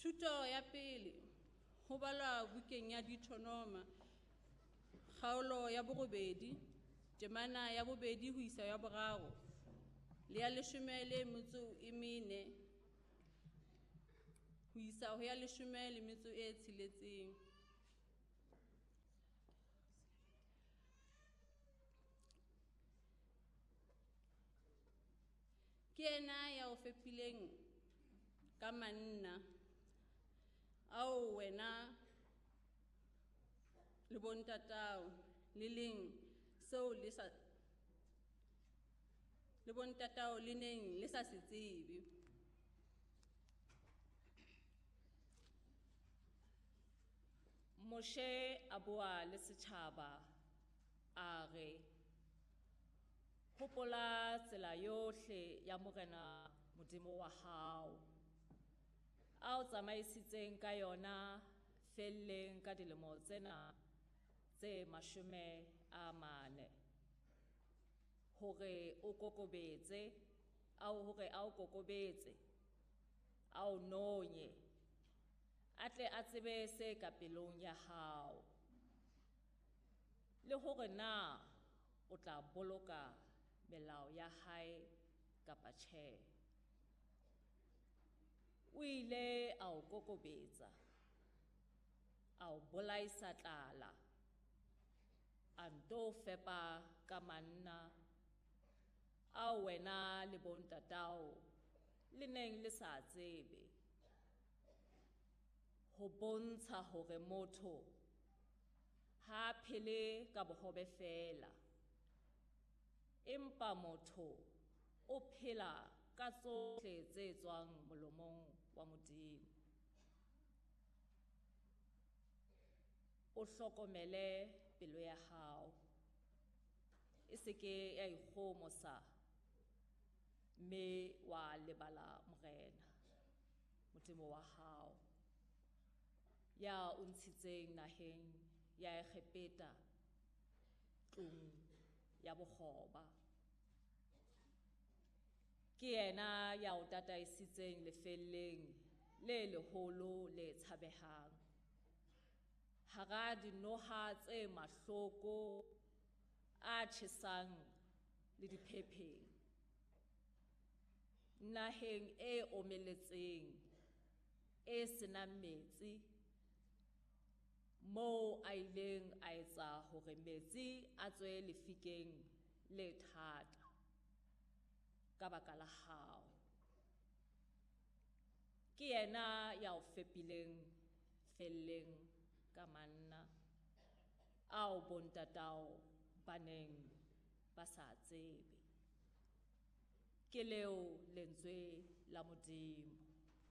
Thuto ya pele ho balwa bukeng ya Deuteronoma kgaolo ya borobedi temana ya bobedi ho isa ya boraro le ya leshome le metso e mene ho isa ho ya leshome le metso e tsheletseng. Ke yena ya o fepileng ka manna ao wena le bontatao le leng seo le sa le bontatao le neng le sa se tsebe. Moshe a bua le setjhaba a re, hopola tsela yohle ya Morena Modimo wa hao, a o tsamaisitseng ka yona felleng ka dilemo tsena tse 40, hore o kokobetse, hore a o kokobetse, a o nonye, a tle a tsebe se ka pelong ya hao, le hore na o tla boloka melao ya hae kapa tjhe. O ile a o kokobetsa, a o bolaisa tlala, a nto fepa ka manna ao wena le bontatao le neng le sa tsebe, ho bontsha hore motho ha a phele ka bohobe feela, empa motho o phela ka tsohle tse tswang molomong wa Modimo. O hlokomele pelo ya hao, e se ke ya ikgohomosa mme wa lebala Morena Modimo wa hao, ya o ntshitseng naheng ya Egepeta, tlung ya bokgoba. Ke yena ya o tataisitseng lefelleng le leholo le tshabehang, hara dinoha tse mahloko a tjhesang le diphepheng, naheng e omeletseng e senang metsi, moo a ileng a etsa hore metsi a tswe lefikeng le thata ka baka la hao. Ke yena ya o fepileng felleng ka manna ao bontatao ba neng ba sa tsebe. Ke leo lentswe la Modimo.